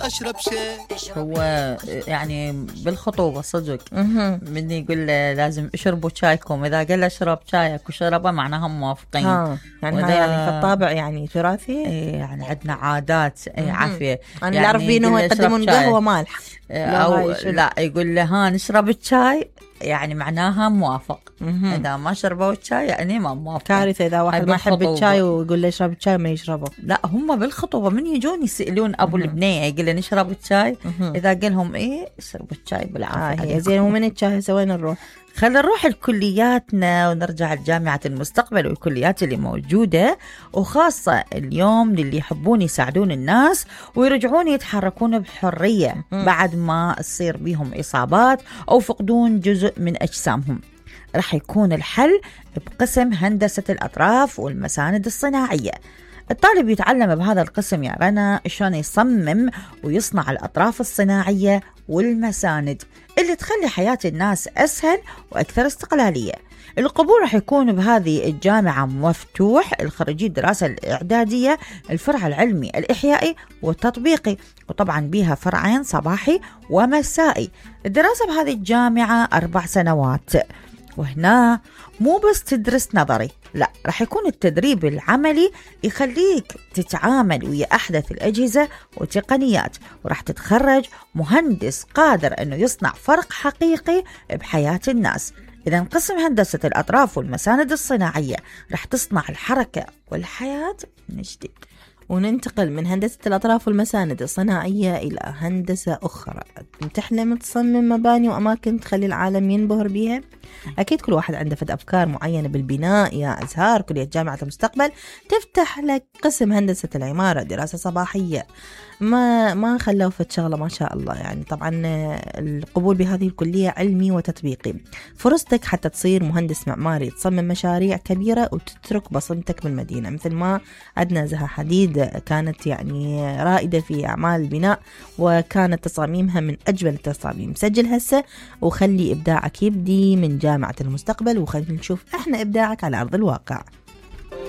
أشرب شاي. هو يعني بالخطوبة صدق من يقول لازم اشربوا شايكم، إذا قال اشرب شايك وشربه معناها موافقين. يعني هاي يعني في الطابع يعني تراثي. يعني عندنا عادات عافية. أنا اللي أعرف بيه إنه يقدمون قهوة مالح أو لا يقول له ها نشرب الشاي، يعني معناها موافق. إذا ما شربوا الشاي يعني ما موافق. كارثة إذا واحد ما يحب الشاي ويقول له اشرب الشاي ما يشربه. لا هم بالخطوبة من يجون يسألون أبو البنية يقول له نشرب الشاي، إذا قال لهم إيه اشربوا الشاي بالعافية. زين ومن الشاي سوين نروح؟ خلينا نروح لكلياتنا ونرجع لجامعة المستقبل والكليات اللي موجودة، وخاصة اليوم للي يحبون يساعدون الناس ويرجعون يتحركون بحرية بعد ما تصير بيهم إصابات أو فقدون جزء من أجسامهم. رح يكون الحل بقسم هندسة الأطراف والمساند الصناعية. الطالب يتعلم بهذا القسم يا رنا شلون يصمم ويصنع الأطراف الصناعية والمساند اللي تخلي حياة الناس أسهل وأكثر استقلالية. القبول رح يكون بهذه الجامعة مفتوح الخريجي الدراسة الإعدادية، الفرع العلمي الإحيائي والتطبيقي، وطبعا بيها فرعين صباحي ومسائي. الدراسة بهذه الجامعة 4 سنوات، وهنا مو بس تدرس نظري، لا رح يكون التدريب العملي يخليك تتعامل ويا أحدث الأجهزة والتقنيات، ورح تتخرج مهندس قادر أنه يصنع فرق حقيقي بحياة الناس. إذا قسم هندسة الأطراف والمساند الصناعية رح تصنع الحركة والحياة من جديد. وننتقل من هندسة الأطراف والمساند الصناعية إلى هندسة أخرى تحلم تصمم مباني وأماكن تخلي العالم ينبهر بها. أكيد كل واحد عنده فد أفكار معينة بالبناء. يا أزهار كلية جامعة المستقبل تفتح لك قسم هندسة العمارة، دراسة صباحية ما خلوا فد شغلة ما شاء الله. يعني طبعا القبول بهذه الكلية علمي وتطبيقي. فرصتك حتى تصير مهندس معماري تصمم مشاريع كبيرة وتترك بصمتك بالمدينة، مثل ما عندنا زها حديد كانت يعني رائدة في أعمال البناء وكانت تصاميمها من أجمل التصاميم. سجل هسه وخلي إبداعك يبدي من جامعة المستقبل، وخلي نشوف إحنا إبداعك على أرض الواقع.